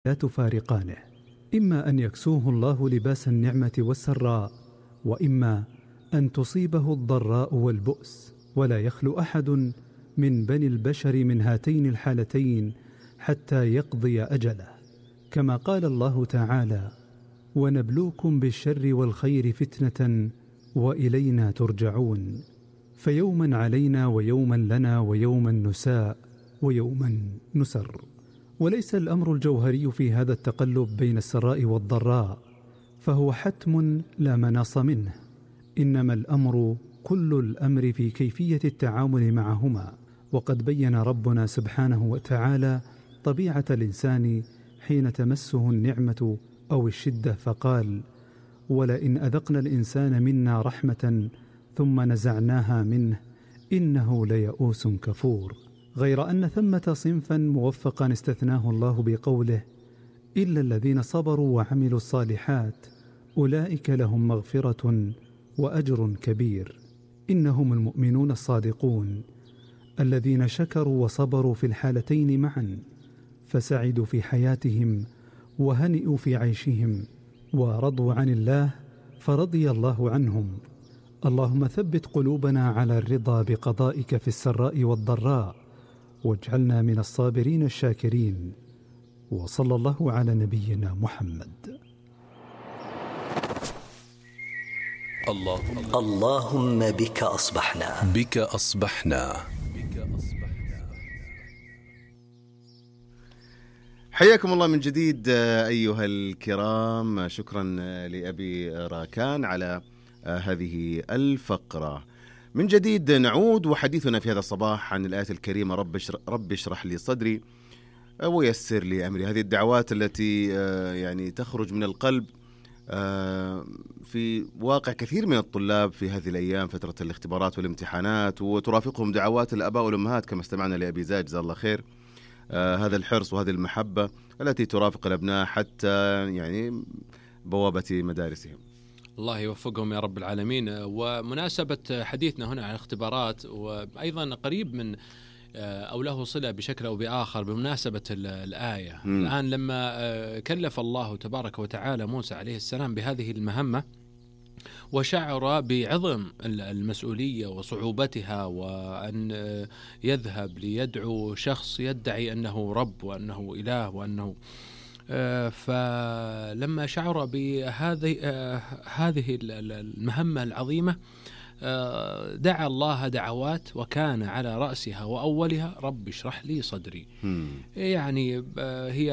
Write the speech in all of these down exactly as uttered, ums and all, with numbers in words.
لا تفارقانه، إما أن يكسوه الله لباس النعمة والسراء، وإما أن تصيبه الضراء والبؤس، ولا يخلو أحد من بني البشر من هاتين الحالتين حتى يقضي أجله، كما قال الله تعالى: ونبلوكم بالشر والخير فتنة وإلينا ترجعون. فيوما علينا ويوما لنا ويوما نساء ويوما نسر. وليس الأمر الجوهري في هذا التقلب بين السراء والضراء، فهو حتم لا مناص منه، إنما الأمر كل الأمر في كيفية التعامل معهما. وقد بين ربنا سبحانه وتعالى طبيعة الإنسان حين تمسه النعمة أو الشدة، فقال: ولئن أذقنا الإنسان منا رحمة ثم نزعناها منه إنه ليئوس كفور. غير أن ثمة صنفا موفقا استثناه الله بقوله: إلا الذين صبروا وعملوا الصالحات أولئك لهم مغفرة وأجر كبير. إنهم المؤمنون الصادقون الذين شكروا وصبروا في الحالتين معا، فسعدوا في حياتهم وهنئوا في عيشهم، ورضوا عن الله فرضي الله عنهم. اللهم ثبت قلوبنا على الرضا بقضائك في السراء والضراء، واجعلنا من الصابرين الشاكرين. وصلى الله على نبينا محمد. اللهم, اللهم بك أصبحنا بك أصبحنا حياكم الله من جديد أيها الكرام. شكرا لأبي راكان على هذه الفقرة. من جديد نعود وحديثنا في هذا الصباح عن الآية الكريمة: رب اشرح لي صدري ويسر لي أمري. هذه الدعوات التي يعني تخرج من القلب في واقع كثير من الطلاب في هذه الأيام، فترة الاختبارات والامتحانات، وترافقهم دعوات الآباء والأمهات كما استمعنا لأبي زاج جزاه الله خير. آه هذا الحرص وهذه المحبة التي ترافق الأبناء حتى يعني بوابة مدارسهم. الله يوفقهم يا رب العالمين. ومناسبة حديثنا هنا عن الاختبارات، وأيضا قريب من أو له صلة بشكل أو بآخر بمناسبة الآية. م. الآن لما كلف الله تبارك وتعالى موسى عليه السلام بهذه المهمة، وشعر بعظم المسؤولية وصعوبتها، وأن يذهب ليدعو شخص يدعي أنه رب وأنه إله وأنه فلما شعر بهذه هذه المهمة العظيمة دعا الله دعوات، وكان على رأسها وأولها: رب اشرح لي صدري. يعني هي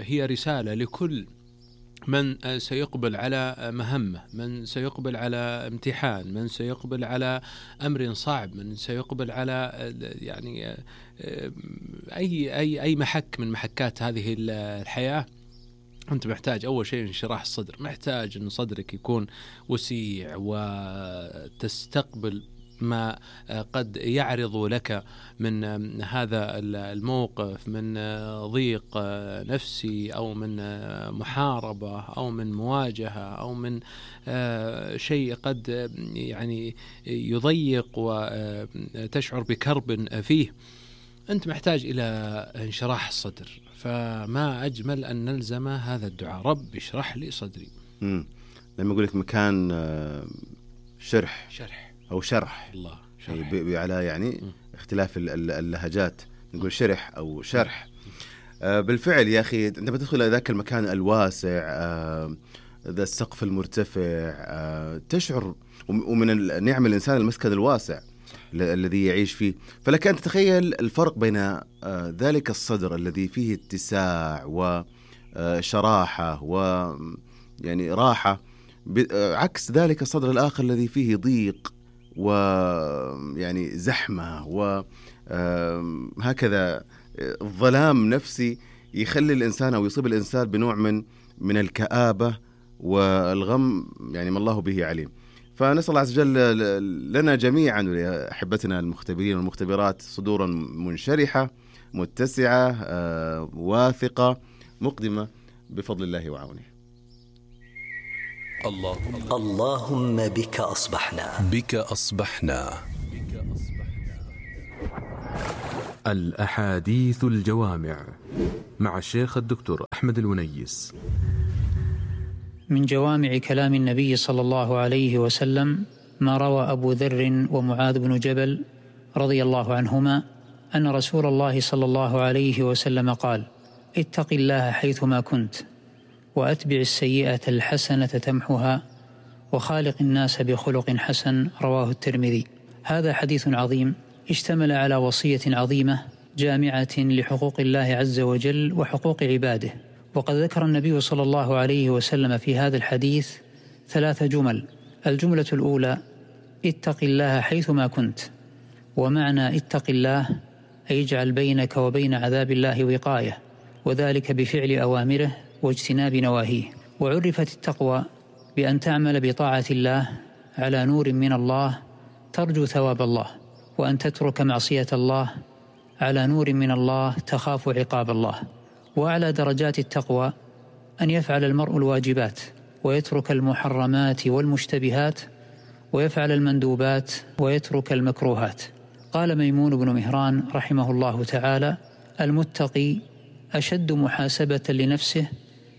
هي رسالة لكل من سيقبل على مهمة، من سيقبل على امتحان، من سيقبل على أمر صعب، من سيقبل على يعني أي أي أي محك من محكات هذه الحياة. أنت محتاج أول شيء انشراح الصدر، محتاج أن صدرك يكون وسيع وتستقبل ما قد يعرض لك من هذا الموقف، من ضيق نفسي أو من محاربة أو من مواجهة أو من شيء قد يعني يضيق وتشعر بكرب فيه. أنت محتاج إلى انشراح الصدر، فما أجمل أن نلزم هذا الدعاء: رب اشرح لي صدري. مم. لما يقول لك مكان شرح شرح أو شرح الله شرح. على يعني م. اختلاف اللهجات، نقول شرح أو شرح. آه بالفعل يا أخي، عندما تدخل إلى ذاك المكان الواسع، آه ذا السقف المرتفع، آه تشعر ومن النعم الإنسان المسكن الواسع الذي يعيش فيه. فلك أن تتخيل الفرق بين آه ذلك الصدر الذي فيه اتساع وشراحة ويعني راحة، عكس ذلك الصدر الآخر الذي فيه ضيق ويعني زحمة وهكذا الظلام نفسي يخلي الإنسان أو يصيب الإنسان بنوع من من الكآبة والغم، يعني ما الله به عليم. فنسأل الله عز وجل لنا جميعا ولأحبتنا المختبرين والمختبرات صدورا منشرحة متسعة واثقة مقدمة بفضل الله وعونه. اللهم, اللهم بك أصبحنا بك أصبحنا الأحاديث الجوامع مع الشيخ الدكتور أحمد الونيس. من جوامع كلام النبي صلى الله عليه وسلم ما روى أبو ذر ومعاذ بن جبل رضي الله عنهما أن رسول الله صلى الله عليه وسلم قال: اتق الله حيثما كنت، وأتبع السيئة الحسنة تمحها، وخالق الناس بخلق حسن. رواه الترمذي. هذا حديث عظيم اشتمل على وصية عظيمة جامعة لحقوق الله عز وجل وحقوق عباده. وقد ذكر النبي صلى الله عليه وسلم في هذا الحديث ثلاث جمل. الجملة الأولى: اتق الله حيثما كنت. ومعنى اتق الله أي اجعل بينك وبين عذاب الله وقاية، وذلك بفعل أوامره واجتناب نواهيه. وعرفت التقوى بأن تعمل بطاعة الله على نور من الله ترجو ثواب الله، وأن تترك معصية الله على نور من الله تخاف عقاب الله. وأعلى درجات التقوى أن يفعل المرء الواجبات ويترك المحرمات والمشتبهات، ويفعل المندوبات ويترك المكروهات. قال ميمون بن مهران رحمه الله تعالى: المتقي أشد محاسبة لنفسه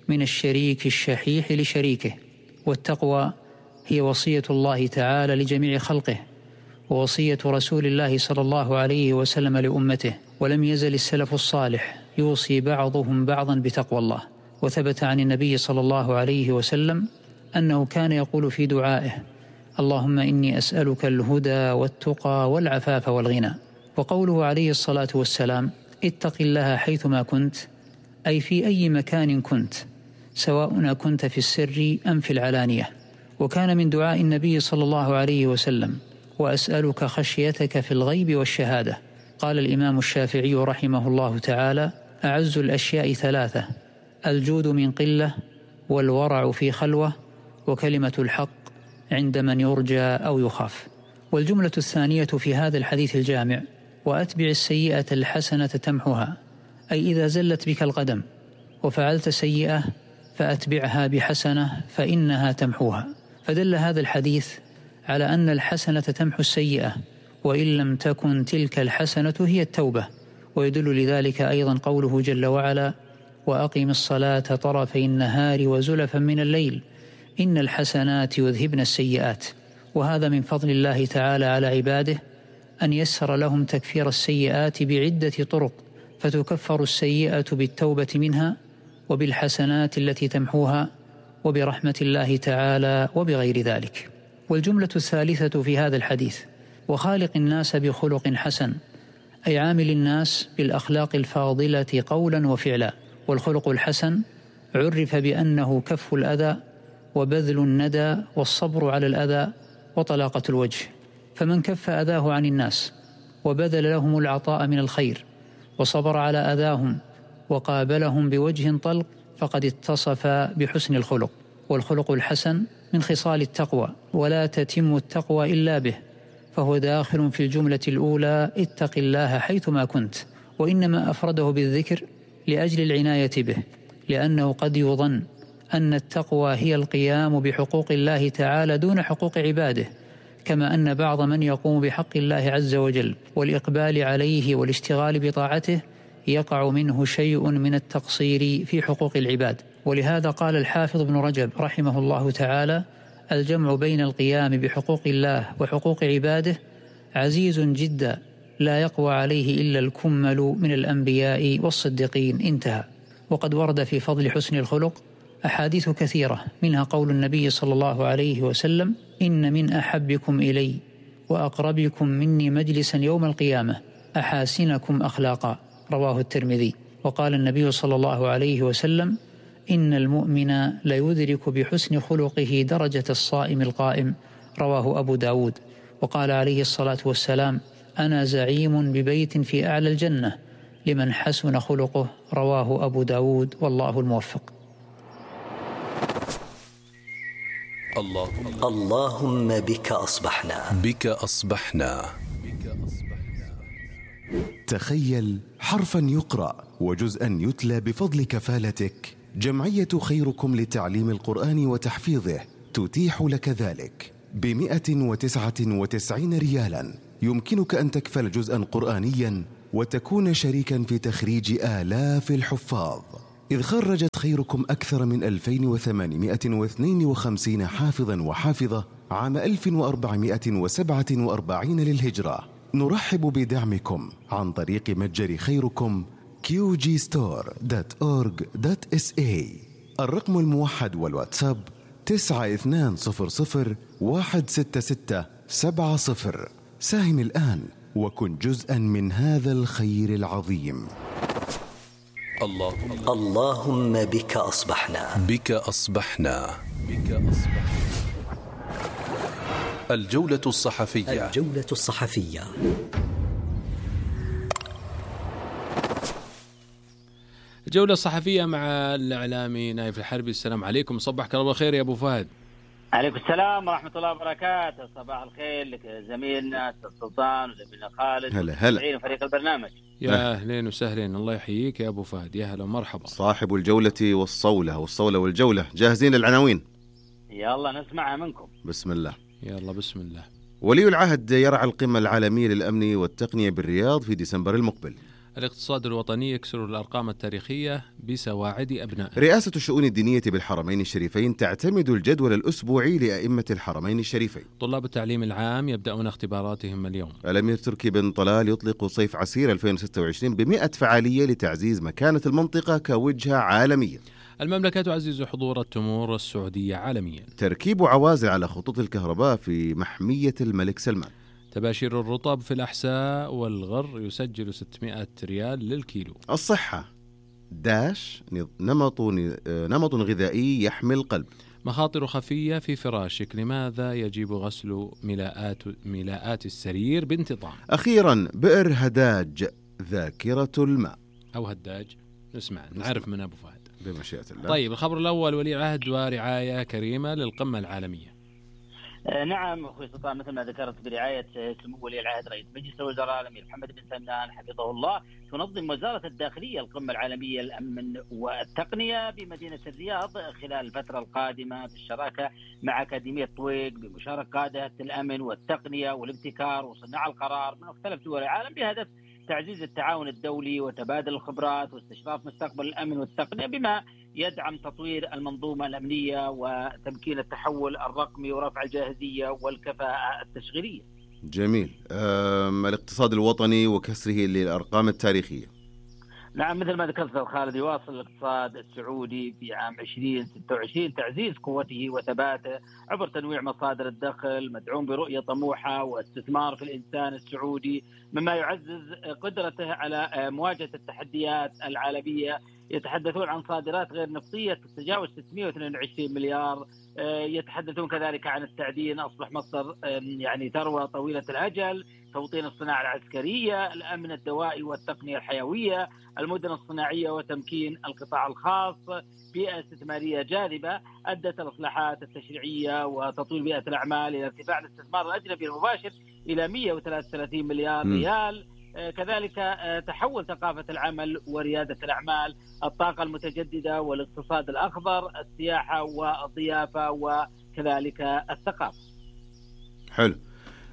من الشريك الشحيح لشريكه. والتقوى هي وصية الله تعالى لجميع خلقه، ووصية رسول الله صلى الله عليه وسلم لأمته. ولم يزل السلف الصالح يوصي بعضهم بعضا بتقوى الله. وثبت عن النبي صلى الله عليه وسلم أنه كان يقول في دعائه: اللهم إني أسألك الهدى والتقى والعفاف والغنى. وقوله عليه الصلاة والسلام: اتق الله حيثما كنت، أي في أي مكان كنت، سواء كنت في السر أم في العلانية. وكان من دعاء النبي صلى الله عليه وسلم: وأسألك خشيتك في الغيب والشهادة. قال الإمام الشافعي رحمه الله تعالى: أعز الأشياء ثلاثة: الجود من قلة، والورع في خلوة، وكلمة الحق عند من يرجى أو يخاف. والجملة الثانية في هذا الحديث الجامع: وأتبع السيئة الحسنة تمحها، أي إذا زلت بك القدم وفعلت سيئة فأتبعها بحسنة فإنها تمحوها. فدل هذا الحديث على أن الحسنة تمحو السيئة، وإن لم تكن تلك الحسنة هي التوبة. ويدل لذلك أيضا قوله جل وعلا: وأقم الصلاة طرفي النهار وزلفا من الليل إن الحسنات يذهبن السيئات. وهذا من فضل الله تعالى على عباده أن يسر لهم تكفير السيئات بعدة طرق، فتكفر السيئة بالتوبة منها، وبالحسنات التي تمحوها، وبرحمة الله تعالى، وبغير ذلك. والجملة الثالثة في هذا الحديث: وخالق الناس بخلق حسن، أي عامل الناس بالأخلاق الفاضلة قولا وفعلا. والخلق الحسن عرف بأنه كف الأذى، وبذل الندى، والصبر على الأذى، وطلاقة الوجه. فمن كف أذاه عن الناس وبذل لهم العطاء من الخير، وصبر على أذاهم، وقابلهم بوجه طلق، فقد اتصف بحسن الخلق. والخلق الحسن من خصال التقوى، ولا تتم التقوى إلا به، فهو داخل في الجملة الأولى: اتق الله حيثما كنت. وإنما أفرده بالذكر لأجل العناية به، لأنه قد يظن أن التقوى هي القيام بحقوق الله تعالى دون حقوق عباده، كما أن بعض من يقوم بحق الله عز وجل والإقبال عليه والاشتغال بطاعته يقع منه شيء من التقصير في حقوق العباد. ولهذا قال الحافظ ابن رجب رحمه الله تعالى: الجمع بين القيام بحقوق الله وحقوق عباده عزيز جدا، لا يقوى عليه إلا الكمل من الأنبياء والصديقين. انتهى. وقد ورد في فضل حسن الخلق أحاديث كثيرة، منها قول النبي صلى الله عليه وسلم: إن من أحبكم إلي وأقربكم مني مجلسا يوم القيامة أحاسنكم أخلاقا. رواه الترمذي. وقال النبي صلى الله عليه وسلم: إن المؤمن ليدرك بحسن خلقه درجة الصائم القائم. رواه أبو داود. وقال عليه الصلاة والسلام: أنا زعيم ببيت في أعلى الجنة لمن حسن خلقه. رواه أبو داود، والله الموفق. اللهم, اللهم بك أصبحنا بك أصبحنا تخيل حرفا يقرأ وجزءا يتلى بفضل كفالتك. جمعية خيركم لتعليم القرآن وتحفيظه تتيح لك ذلك بمئة وتسعة وتسعين ريالا. يمكنك أن تكفل جزءا قرآنيا وتكون شريكا في تخريج آلاف الحفاظ، إذ خرجت خيركم أكثر من ألفين وثمانمائة واثنين وخمسين حافظا وحافظة عام ألف وأربعمائة وسبعة وأربعين للهجرة. نرحب بدعمكم عن طريق متجر خيركم كيو جي ستور دوت أورج دوت إس إيه. الرقم الموحد والواتساب تسعة اثنان صفر صفر واحد ستة ستة سبعة صفر. ساهم الآن وكن جزءا من هذا الخير العظيم. اللهم, اللهم بك أصبحنا بك أصبحنا بك أصبحنا. الجولة الصحفية الجولة الصحفية. الجولة الصحفية مع الإعلامي نايف الحربي. السلام عليكم، صبحك الله خير يا أبو فهد. عليكم السلام ورحمة الله وبركاته. صباح الخير لك زميلنا السلطان وزميلنا خالد. هلا هلا. فريق البرنامج. يا أهلين وسهلين، الله يحييك يا أبو فهد. يا هلا ومرحبا. صاحب الجولة والصولة والصولة والجولة، جاهزين للعناوين؟ يلا نسمعها منكم. بسم الله. يلا بسم الله. ولي العهد يرعى القمة العالمية للأمن والتقنية بالرياض في ديسمبر المقبل. الاقتصاد الوطني يكسر الأرقام التاريخية بسواعد أبنائه. رئاسة الشؤون الدينية بالحرمين الشريفين تعتمد الجدول الأسبوعي لأئمة الحرمين الشريفين. طلاب التعليم العام يبدأون اختباراتهم اليوم. الأمير تركي بن طلال يطلق صيف عسير ألفين وستة وعشرين بمئة فعالية لتعزيز مكانة المنطقة كوجهة عالمية. المملكة تعزز حضور التمور السعودية عالميا. تركيب عوازل على خطوط الكهرباء في محمية الملك سلمان. تباشير الرطب في الأحساء والغر يسجل ستمائة ريال للكيلو. الصحة داش نمط نمط غذائي يحمي القلب. مخاطر خفية في فراشك، لماذا يجب غسل ملاءات ملاءات السرير بانتظام. أخيرا بئر هداج ذاكرة الماء أو هداج. نسمع نعرف من أبو فهد بمشيئة الله. طيب الخبر الأول، ولي العهد ورعاية كريمة للقمة العالمية. نعم أخوي سلطان، مثل ما ذكرت برعاية سمو ولي العهد رئيس مجلس الوزراء الأمير محمد بن سلمان حفظه الله، تنظم وزارة الداخلية القمة العالمية للأمن والتقنية بمدينة الرياض خلال الفترة القادمة بالشراكة مع أكاديمية طويق بمشاركة قادة الأمن والتقنية والابتكار وصناع القرار من مختلف دول العالم بهدف تعزيز التعاون الدولي وتبادل الخبرات واستشراف مستقبل الأمن والتقنية بما يدعم تطوير المنظومة الأمنية وتمكين التحول الرقمي ورفع الجاهزية والكفاءة التشغيلية. جميل. الاقتصاد الوطني وكسره للأرقام التاريخية. نعم مثل ما ذكرت خالد، يواصل الاقتصاد السعودي في عام ألفين وستة وعشرين تعزيز قوته وثباته عبر تنويع مصادر الدخل مدعوم برؤية طموحة واستثمار في الإنسان السعودي، مما يعزز قدرته على مواجهة التحديات العالمية. يتحدثون عن صادرات غير نفطية تتجاوز ستمائة واثنين وعشرين مليار. يتحدثون كذلك عن التعدين، أصبح مصر يعني ثروة طويلة الأجل، توطين الصناعة العسكرية، الأمن الدوائي والتقنية الحيوية، المدن الصناعية وتمكين القطاع الخاص، بيئة استثمارية جاذبة أدت الإصلاحات التشريعية وتطوير بيئة الأعمال إلى ارتفاع الاستثمار الأجنبي المباشر إلى مئة وثلاثة وثلاثين مليار ريال. كذلك تحول ثقافة العمل وريادة الأعمال، الطاقة المتجددة والاقتصاد الأخضر، السياحة والضيافة وكذلك الثقافة. حلو.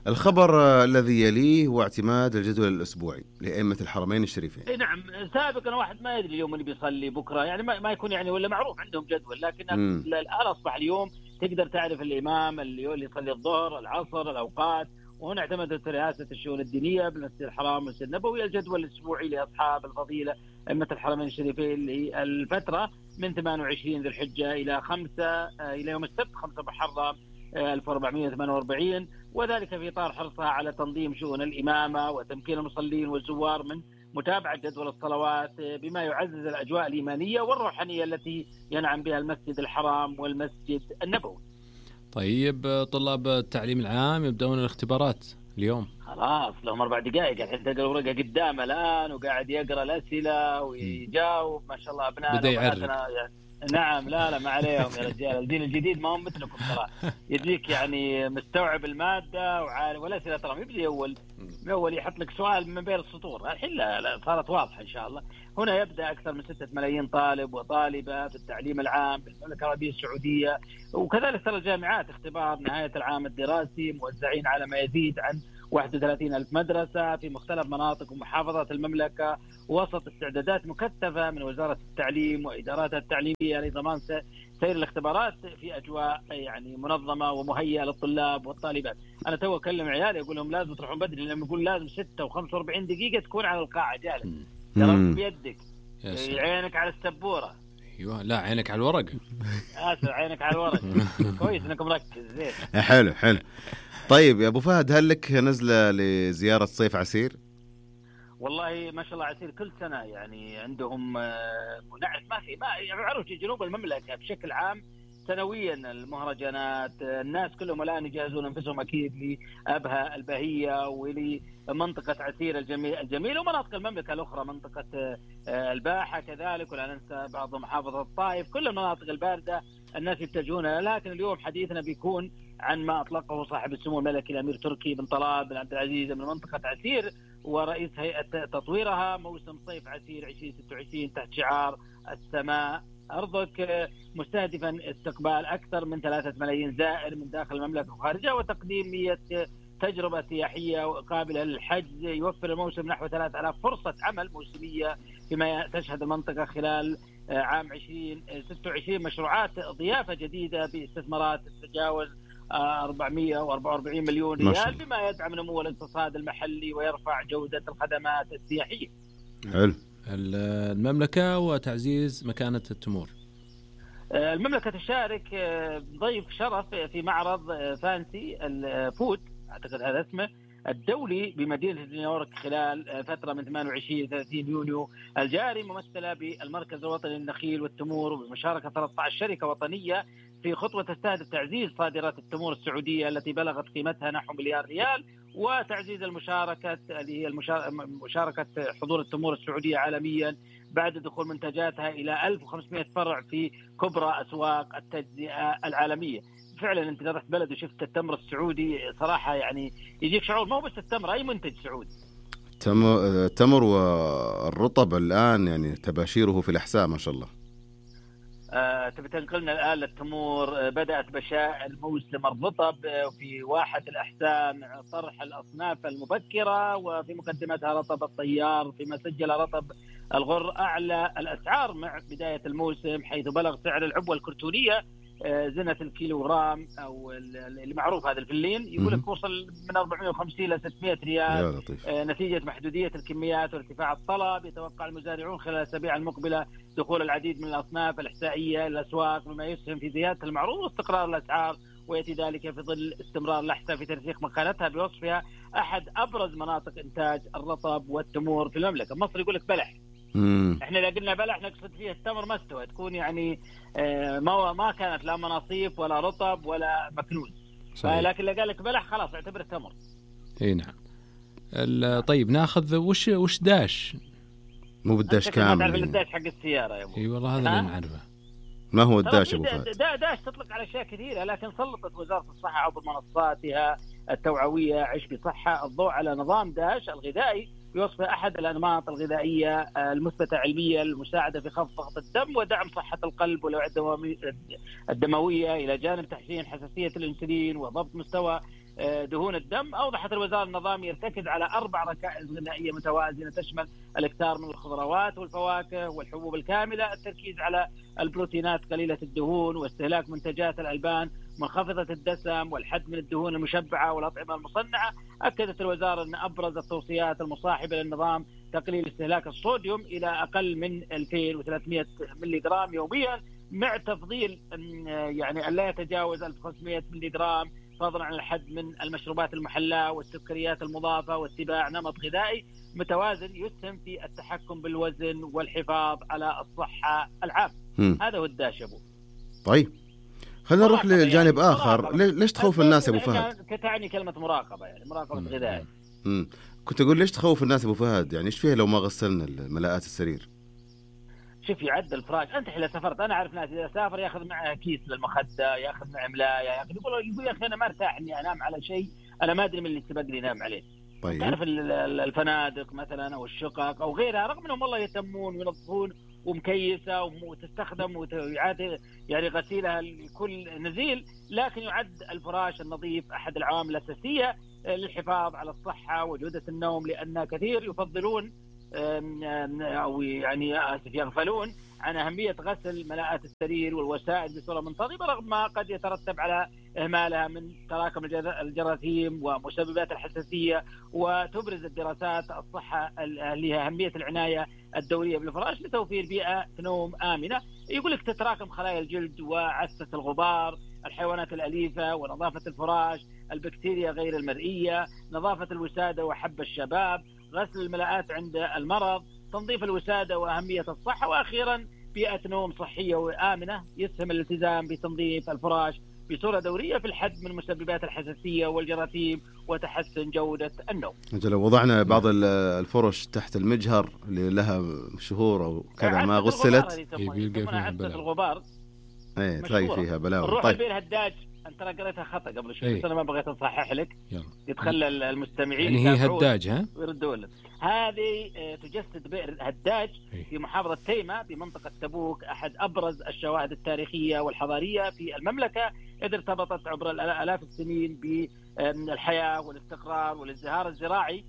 الخبر الذي يليه هو اعتماد الجدول الأسبوعي لأئمة الحرمين الشريفين. نعم سابقا واحد ما يدري اليوم اللي بيصلي بكرة، يعني ما يكون يعني ولا معروف عندهم جدول، لكن الآن أصبح اليوم تقدر تعرف الإمام اللي يصلي الظهر العصر الأوقات. وهنا اعتمدت رئاسة الشؤون الدينية بالمسجد الحرام والمسجد النبوي الجدول الأسبوعي لأصحاب الفضيلة أئمة الحرمين الشريفين للفترة من ثمانية وعشرين ذي الحجة إلى خمسة إلى يوم السبت خمسة محرم ألف وأربعمائة وثمانية وأربعين، وذلك في إطار حرصها على تنظيم شؤون الإمامة وتمكين المصلين والزوار من متابعة جدول الصلوات بما يعزز الأجواء الإيمانية والروحانية التي ينعم بها المسجد الحرام والمسجد النبوي. طيب طلاب التعليم العام يبدأون الاختبارات اليوم. خلاص لهم أربع دقائق، الحين تلقى الورقة قدامه الآن وقاعد يقرأ الأسئلة ويجاوب. ما شاء الله أبنائنا بدأ يعرف. يعني نعم لا لا ما عليهم يا رجال، الجيل الجديد ما هم مثلكم ترى، يجيك يعني مستوعب المادة وعارف والأسئلة ترى يبدأ أول من أول يحط لك سؤال من بين السطور. الحين لا, لا صارت واضحة إن شاء الله. هنا يبدأ أكثر من ستة ملايين طالب وطالبة في التعليم العام بالمملكة العربية السعودية، وكذلك ترى الجامعات اختبار نهاية العام الدراسي موزعين على ما يزيد عن واحد وثلاثين ألف مدرسة في مختلف مناطق ومحافظات المملكة، وسط استعدادات مكثفة من وزارة التعليم وإداراتها التعليمية لضمان سير الاختبارات في أجواء يعني منظمة ومهيئة للطلاب والطالبات. أنا تو أكلم عيالي أقول لهم لازم تروحون بدري، لما يقول لازم ستة وخمسة وأربعين دقيقة تكون على القاعة جالس، ترى بيدك عينك على السبورة. ايوه لا عينك على الورق. اسف عينك على الورق. كويس انك مركز زين. حلو حلو. طيب يا ابو فهد، هل لك نزله لزياره صيف عسير؟ والله ما شاء الله عسير كل سنه يعني عندهم نعرف ما في ما يعرفوا جنوب المملكه بشكل عام سنويا المهرجانات، الناس كلهم الان يجهزون انفسهم اكيد لابها البهيه ولمنطقه عسير الجميل الجميل ومناطق المملكه الاخرى، منطقه الباحه كذلك، ولا ننسى بعض محافظه الطائف، كل المناطق البارده الناس يتجهون. لكن اليوم حديثنا بيكون عن ما اطلقه صاحب السمو الملكي الامير تركي بن طلال بن عبد العزيز من منطقه عسير ورئيس هيئه تطويرها، موسم صيف عسير ألفين وستة وعشرين تحت شعار السماء أرضك، مستهدفا استقبال أكثر من ثلاثة ملايين زائر من داخل المملكة وخارجها، وتقديم مية تجربة سياحية قابلة للحجز. يوفر الموسم نحو ثلاثة آلاف فرصة عمل موسمية فيما تشهد المنطقة خلال عام ألفين وستة وعشرين مشروعات ضيافة جديدة باستثمارات تتجاوز أربعمائة وأربعة وأربعين مليون ريال، بما يدعم نمو الاقتصاد المحلي ويرفع جودة الخدمات السياحية. حلو. المملكة وتعزيز مكانة التمور. المملكة تشارك ضيف شرف في معرض فانسي الفود أعتقد هذا اسمه الدولي بمدينة نيويورك خلال فترة من ثمانية وعشرين إلى ثلاثين يونيو الجاري، ممثلة بالمركز الوطني للنخيل والتمور وبمشاركة ثلاثة عشر شركة وطنية في خطوة تستهدف تعزيز صادرات التمور السعودية التي بلغت قيمتها نحو مليار ريال، وتعزيز المشاركة اللي هي مشاركة حضور التمور السعودية عالميا بعد دخول منتجاتها إلى ألف وخمسمائة فرع في كبرى أسواق التجزئة العالمية. فعلا انت رحت بلد وشفت التمر السعودي صراحة يعني يجيك شعور، ما هو بس التمر أي منتج سعودي. التمر والرطب الآن يعني تباشيره في الأحساء ما شاء الله. آه، تبي تنقلنا الآن للتمور. بدأت بشائر موسم الرطب في واحة الأحساء مع طرح الأصناف المبكرة، وفي مقدمتها رطب الطيار، فيما سجل رطب الغر أعلى الأسعار مع بداية الموسم، حيث بلغ سعر العبوة الكرتونية زنة الكيلوغرام أو اللي معروف هذا الفلين يقول لك وصل من أربعمائة وخمسين إلى ستمائة ريال نتيجة محدودية الكميات وارتفاع الطلب. يتوقع المزارعون خلال الأسابيع المقبلة دخول العديد من الأصناف الإحسائية إلى الأسواق، مما يسهم في زيادة المعروض واستقرار الأسعار، ويأتي ذلك في ظل استمرار الأحساء في ترسيخ مكانتها بوصفها أحد أبرز مناطق إنتاج الرطب والتمور في المملكة. مصر يقول لك بلح، مم. احنا اذا قلنا بلح نقصد فيه التمر ما استوى، تكون يعني ما ما كانت لا مناصيف ولا رطب ولا مكنون، لكن اللي قال لك بلح خلاص اعتبره تمر. اي نعم. طيب ناخذ وش وش داش؟ مو بالداش كامل. تعرف الداش حق السياره يا ابو؟ اي والله هذا اللي نعرفه. ما هو الداش ابو فهد؟ داش تطلق على اشياء كثيره، لكن سلطت وزاره الصحه عبر منصاتها التوعويه عش بصحه الضوء على نظام داش الغذائي بوصفه احد الانماط الغذائيه المثبته علميا المساعده في خفض ضغط الدم ودعم صحه القلب والاوعيه الدمويه، الى جانب تحسين حساسيه الانسولين وضبط مستوى دهون الدم. اوضحت الوزاره النظام يرتكز على اربع ركائز غذائيه متوازنه تشمل الاكثار من الخضروات والفواكه والحبوب الكامله، التركيز على البروتينات قليله الدهون، واستهلاك منتجات الالبان منخفضه الدسم، والحد من الدهون المشبعه والاطعمه المصنعه. اكدت الوزاره ان ابرز التوصيات المصاحبه للنظام تقليل استهلاك الصوديوم الى اقل من ألفين وثلاثمائة ملي جرام يوميا، مع تفضيل يعني الا يتجاوز ألف وخمسمائة ملي جرام، فضلا عن الحد من المشروبات المحلاة والسكريات المضافة، واتباع نمط غذائي متوازن يسهم في التحكم بالوزن والحفاظ على الصحة العامة. هذا هو الداش ابو. طيب خلينا نروح لجانب يعني آخر. مراقبة. ليش تخوف الناس ابو فهد؟ كتعني كلمة مراقبة يعني مراقبة غذائي. امم كنت اقول ليش تخوف الناس ابو فهد؟ يعني ايش فيها لو ما غسلنا الملاءات السرير؟ شوف يعد الفراش، انت حين سافرت انا اعرف ناس اذا سافر ياخذ معه كيس للمخده، ياخذ معه ملايه، ياخذ يقول يقول يا اخي انا ما ارتاح اني انام على شيء انا ما ادري من اللي سبق لي نام عليه. طيب تعرف الفنادق مثلا او الشقق او غيرها رغم انهم والله يهتمون وينظفون ومكيسه وتستخدم ويعاد يعني غسيلها لكل نزيل، لكن يعد الفراش النظيف احد العوامل الاساسيه للحفاظ على الصحة وجودة النوم، لأن كثير يفضلون أو يعني آسف يغفلون عن أهمية غسل ملاءات السرير والوسائد بصورة منتظمة، رغم ما قد يترتب على إهمالها من تراكم الجراثيم ومسببات الحساسية. وتبرز الدراسات الصحة لها أهمية العناية الدورية بالفراش لتوفير بيئة نوم آمنة. يقول لك تتراكم خلايا الجلد وعسة الغبار، الحيوانات الأليفة، ونظافة الفراش، البكتيريا غير المرئية، نظافة الوسادة وحب الشباب، غسل الملاءات عند المرض، تنظيف الوسادة وأهمية الصحة، وأخيرا بيئة نوم صحية وآمنة. يسهم الالتزام بتنظيف الفراش بصورة دورية في الحد من مسببات الحساسية والجراثيم وتحسن جودة النوم. لو وضعنا بعض الفرش تحت المجهر اللي لها شهور أو كذا ما غسلت عسة الغبار، ايه تلاقي فيها بلاوي. نروح طيب. البير هداج، انت ترى قريتها خطا قبل شوي بس انا ما بغيت اصحح لك، يتخلى المستمعين يعني هي هداج ها ويردوا لك. هذه تجسد بئر هداج في محافظة تيمة بمنطقة تبوك، أحد أبرز الشواهد التاريخية والحضارية في المملكة، إذ ارتبطت عبر آلاف السنين بالحياة والاستقرار والازدهار الزراعي،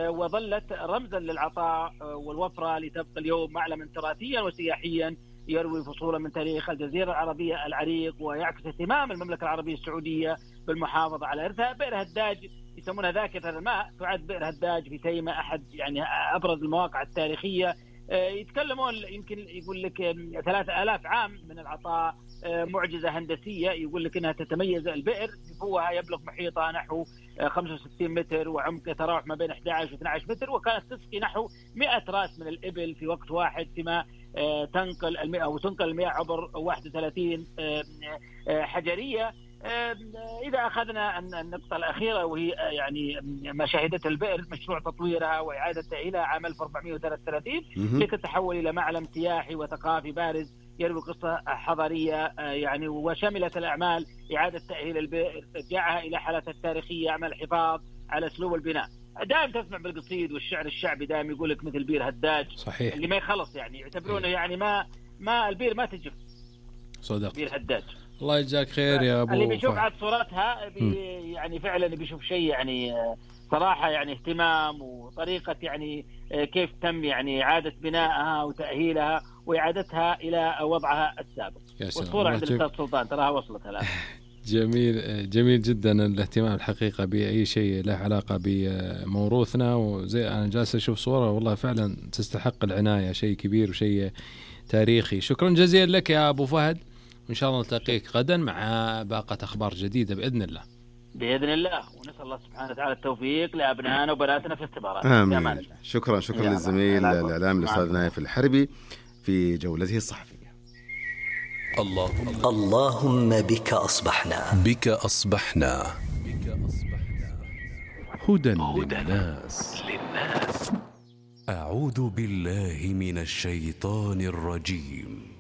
وظلت رمزا للعطاء والوفرة، لتبقى اليوم معلما تراثيا وسياحيا يروي فصولا من تاريخ الجزيرة العربية العريق، ويعكس اهتمام المملكة العربية السعودية بالمحافظة على إرثها. بئر هداج يسمونها ذاكرة الماء، تعد بئر هداج في تيمة أحد يعني أبرز المواقع التاريخية. يتكلمون يمكن يقول لك ثلاثة آلاف عام من العطاء، معجزة هندسية. يقول لك أنها تتميز البئر نفوها يبلغ محيطها نحو خمسة وستين متر، وعمق يتراوح ما بين أحد عشر و اثني عشر متر، وكانت تسقي نحو مئة رأس من الإبل في وقت واحد، فيما تنقل المياه وتنقل المياه عبر واحد وثلاثين حجرية. إذا أخذنا النقطة الأخيرة وهي يعني ما شهدته البئر، مشروع تطويرها وإعادة تأهيلها عام ألف وأربعمائة وثلاثة وثلاثين لتتحول إلى معلم سياحي وثقافي بارز يروي قصة حضارية يعني، وشملت الأعمال إعادة تأهيل البئر، إرجاعها إلى حالتها التاريخية، عمل الحفاظ على أسلوب البناء. دائم تسمع بالقصيد والشعر الشعبي دائم يقول لك مثل بير هداج صحيح اللي ما يخلص، يعني يعتبرونه يعني ما ما البير ما تجف صدق بير هداج. الله يجزاك خير يا ابو. اللي بيشوف عاد صورتها بي يعني فعلا بيشوف شيء يعني صراحة يعني اهتمام وطريقة يعني كيف تم يعني إعادة بنائها وتأهيلها وإعادتها إلى وضعها السابق. والصورة عند الأستاذ سلطان تراها وصلت الآن. جميل جميل جدا الاهتمام الحقيقة بأي شيء له علاقة بموروثنا، وزي أنا جالس أشوف صورة والله فعلا تستحق العناية، شيء كبير وشيء تاريخي. شكرا جزيلا لك يا أبو فهد، وإن شاء الله نلتقيك غدا مع باقة أخبار جديدة بإذن الله. بإذن الله، ونسأل الله سبحانه وتعالى التوفيق لأبنائنا وبناتنا في اختبارات. آمين. شكرا شكرا للزميل الإعلامي الأستاذ نايف الحربي في جولته الصحفية. اللهم اللهم بك أصبحنا بك أصبحنا هدى للناس. أعوذ بالله من الشيطان الرجيم.